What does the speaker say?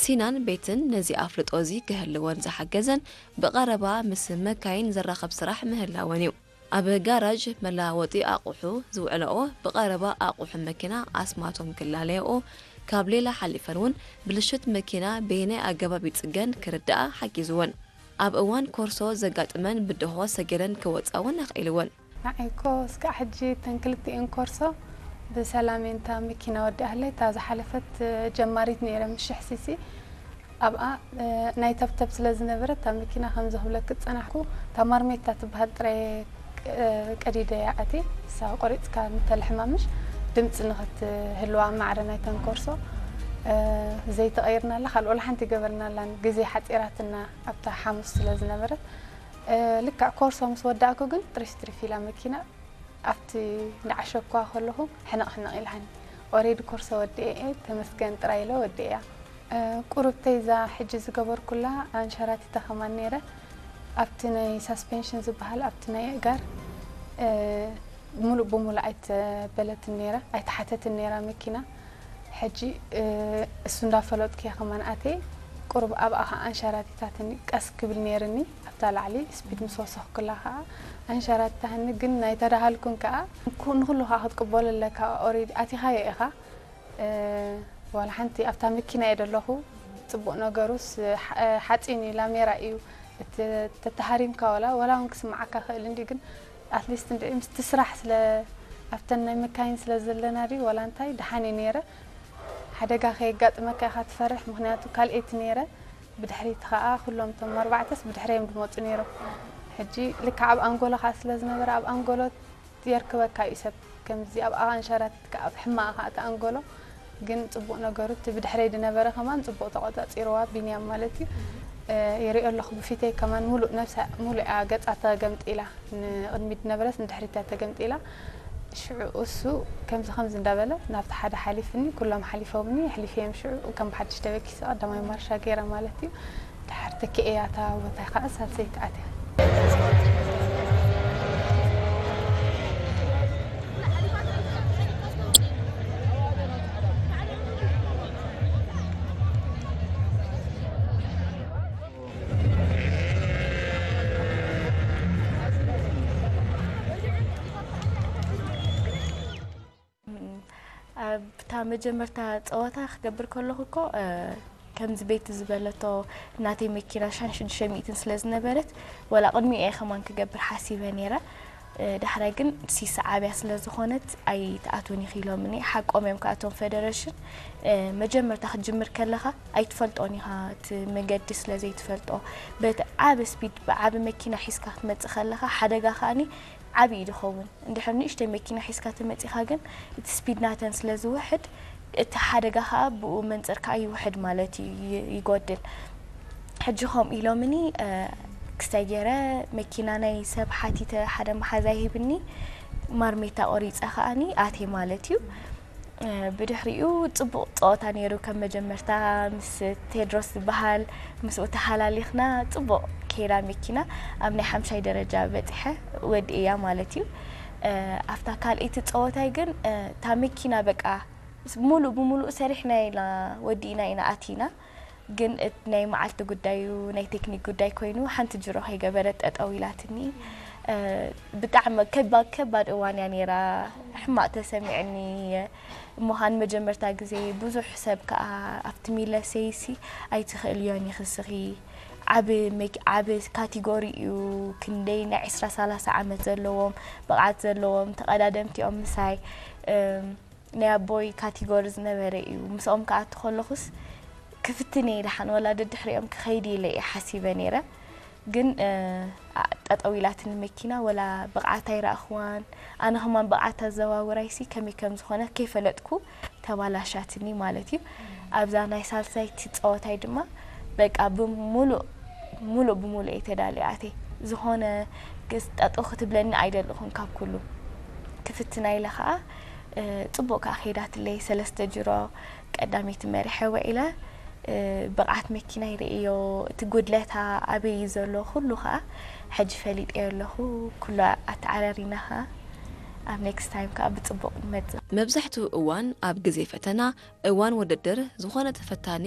ሲናን ቤትን ነዚ ኣፍልጦ እዚ ክህልወን ዝሓገዘን ብቐረባ ምስ መካይን ዘራኸብ ስራሕ ምህላወን እዩ። ኣብ ጋራዥ መለዋወጢ ኣቑሑ ዝውዕልኦ ብቐረባ ኣቑሑ መኪና ኣስማቶም ክላለየኦ ካብ ሌላ ሓሊፈን እውን ብልሽት መኪና በየናይ ኣገባብ ይጽገን ክርድኣ ሓጊዝወን። ኣብ እዋን ኮርሶ ዘጋጥመን ብድሆ ሰጊረን ክወጻ እውን ኣኽኢልወን። ንዓይ እኮ እስካዕ ሕጂ እተን ክልቲኤን ኮርሶ ብሰላም እየን። እታ መኪና ወዲኣለይ። እታ ዝሓለፈት ጀማሪት ነይረ ምስ ሽሕ ሲሲ ኣብኣ ናይ ተብተብ ስለ ዝነበረት እታ መኪና ከምዚ ክብለክ ዝጸናሕኩ እታ ማርሜታ ትበሃል ጥራይ ቀዲደ እያ ኣትየ። እሳ ቆሪጽካ ንተልሕማ ምሽ ድምጺ ንኽትህልዋ ማዕረ ናይተን ኮርሶ ዘይተቐይርናላ ካልእ ወላ ሓንቲ ይገበርናላን ግዜ ሓጺራትና ኣብታ ሓሙስ ስለ ዝነበረት ልክዕ ኮርሶ ምስ ወዳእኩ ግን ጥሪፍ ጥሪፍ ኢላ መኪና ኣብቲ እንዳዓሸኳ ከለኹ ሕንቕ ሕንቕ ኢልሃኒ። ኦሬዲ ኮርሶ ወዲኤ እየ ተመስገን ጥራይ ኢለ ወዲኤያ። ቁሩብተይ እዛ ሕጂ ዝገበርኩላ ኣንሸራቲተ ከማን ነይረ ኣብቲ ናይ ሳስፔንሽን ዝበሃል ኣብቲ ናይ ኣእጋር ሙሉእ ብሙሉእ ኣይተበለትን ነይራ ኣይተሓተትን ነይራ መኪና። ሕጂ እሱ እንዳፈለጥኩ እየ ከማን ኣትየ። ቁሩብ ኣብኣ ከዓ ኣንሸራቲታትኒ ቀስ ክብል ነይርኒ ኣብታ ላዕሊ ስፒድ ምስ ወሰኽኩላ ከዓ ኣንሸራቲታትኒ ግን ናይ ተዳሃልኩን ከዓ ንኩ- ንኩሉ ከዓ ክትቅበሎ ኣለካ ኦሬዲ ኣቲኻዮ ኢኻ። ዋላ ሓንቲ ኣብታ መኪና እየ ደለኹ። ፅቡቅ ነገሩስ ሓፂን እዩ ላሜራ እዩ። ተተሃሪምካ ዋላ ዋላ እውን ክስማዓካ ክእል እንዲ ግን ኣትሊስት እንዲ ምስቲ ስራሕ ስለ ኣብተን ናይ መካይን ስለ ዘለና ድዩ ዋላ እንታይ ደሓን እዩ ነይረ። ሓደጋ ከየጋጥመካ ኢኻ ትፈርሕ ምክንያቱ ካልኤይቲ ነይረ። ብድሕሪቲ ከዓ ኩሎም እቶም ኣርባዕተስ ብድሕረዮም ድመፁ ነይሮም። ሕጂ ልክዕ ኣብ ኣንጎሎ ከዓ ስለ ዝነበረ ኣብ ኣንጎሎ የርክበካ እዩ ሰብ ከምዚ ኣብ ኣንሸራቲትካ ኣብ ሕማቕ ከዓ እቲ ኣንጎሎ ግን ፅቡቕ ነገሩ እቲ ብድሕረይ ዝነበረ ከማን ፅቡቕ ተቆፃፂርዋ ቢንያም ማለት እዩ። የሪኦ ኣለኹ ብፊተይ ከማን ሙሉእ ነብሳ ሙሉእ እያ ገፃ ተገምጢላ ንቕድሚት ዝነበረስ ንድሕሪት እያ ተገምጢላ። ሽዑ እሱ ከምዚ ከምዚ እንዳበለ ናብቲ ሓደ ሓሊፍኒ ኩሎም ሓሊፎምኒ ኣሕሊፈዮም ሽዑ ከም ብሓድሽ ተበኪሰ ቀዳማይ ማርሻ ገይረ ማለት እዩ። ድሓር ተኪኤያ እታ ቦታ ከዓ ሳልሰይቲ ኣትያ። ኣብታ መጀመርታ ፀወታ ክገብር ከለኹ እኮ ከምዚ ቤቲ ዝበለቶ ናተይ መኪና ሻን ሽዱሽተ ሚእትን ስለ ዝነበረት ወላ ቅድሚኡ እየ ከማን ክገብር ሓሲበ ነይረ። ዳሕራይ ግን ሲስ ዓብያ ስለ ዝኾነት ኣይትኣትውን ኢኺ ኢሎምኒ። ሓቆም እዮም ከኣቶም ፌደሬሽን መጀመርታ ክትጅምር ከለኻ ኣይትፈልጦን ኢኻ እቲ መገዲ ስለ ዘይትፈልጦ በቲ ዓቢ ስፒድ ብዓቢ መኪና ሒዝካ ክትመጽእ ከለኻ ሓደጋ ከኣኒ ዓቢ እዩ ዝኸውን። እንድሕር ንእሽተይ መኪና ሒዝካ ተመጺኻ ግን እቲ ስፒድ ናተን ስለ ዝውሕድ እቲ ሓደጋ ከኣ ብኡ መንጽር ከኣ ይውሕድ ማለት እዩ፣ ይ- ይጎድል። ሕጂ ከምኡ ኢሎምኒ ክስታይ ገይረ መኪና ናይ ሰብ ሓቲተ ሓደ መሓዛ ይህብኒ ማርሜታ ቆሪፀ ከኣኒ ኣቴ ማለት እዩ። ብድሕሪኡ ጽቡቕ ጸወታ ነይሩ ከም መጀመርታ ምስ ቴድሮስ ዝበሃል ምስኡ ተሓላሊኽና ጽቡቕ ከይዳ መኪና ኣብ ናይ ሓምሻይ ደረጃ በጺሐ ወዲእያ ማለት እዩ። ኣብታ ካልኣይቲ ጸወታይ ግን እታ መኪና በቃ ሙሉእ ብሙሉእ ሰሪሕና ኢና ወዲእና ኢና ኣቲና። ግን እቲ ናይ መዓልቲ ጉዳዩ ናይ ቴክኒክ ጉዳይ ኮይኑ ሓንቲ ጅሮ ከይገበረት ጠጠው ኢላትኒ። ብጣዕሚ ከባድ ከባድ እዋን እያ ነይራ። ሕማቕ ተሰሚዕኒ። እሞ ኻን መጀመርታ ግዜ ብዙሕ ሰብ ከኣ ኣብቲ ሚለሰይሲ ኣይትኽእልዮን ኢኺ ንስኺ። ዓቢ መኪ- ዓቢ ካቴጎሪ እዩ። ክንደይ ናይ ዕስራ ሰላሳ ዓመት ዘለዎም ብቕዓት ዘለዎም ተቐዳደምቲ እዮም ምሳይ። ናይ ኣቦይ ካቴጎሪ ዝነበረ እዩ። ምስኦም ክኣቱ ከለኹስ ክፍትን እየ ደሓን ወላ ደድሕሪኦም ክኸይድ ኢለ እየ ሓሲበ ነይረ። ግን ጠጠው ኢላትኒ መኪና ወላ ብቕዓት ኣይረኣኽዋን። ኣነ ከማን ብቕዓት ኣዘዋውራይሲ ከመይ ከም ዝኾነ ከይፈለጥኩ ተባላሻትኒ ማለት እዩ። ኣብዛ ናይ ሳልሳይቲ ፀወታይ ድማ በቃ ብሙሉእ ሙሉእ ብሙሉእ እየ ተዳልየ ኣትየ። ዝኾነ ግስ ጠጠው ክትብለኒ ኣይደለኹን ካብ ኩሉ ክፍትና ኢለ ከዓ ፅቡቕ ከዓ ከይዳትለይ ሰለስተ ጅሮ ቀዳመይቲ መሪሐ ውዒለ። ብቕዓት መኪና ይርእዮ እቲ ጉድለታ ኣበይ እዩ ዘሎ ኩሉ ከዓ ሕጂ ፈሊጠዮ ኣለኹ። ኩሉ ኣተዓራሪና ከዓ ኣብ ኔክስት ታይም ከዓ ብፅቡቕ ንመፅእ። መብዛሕትኡ እዋን ኣብ ግዜ ፈተና እዋን ውድድር ዝኾነ ተፈታኒ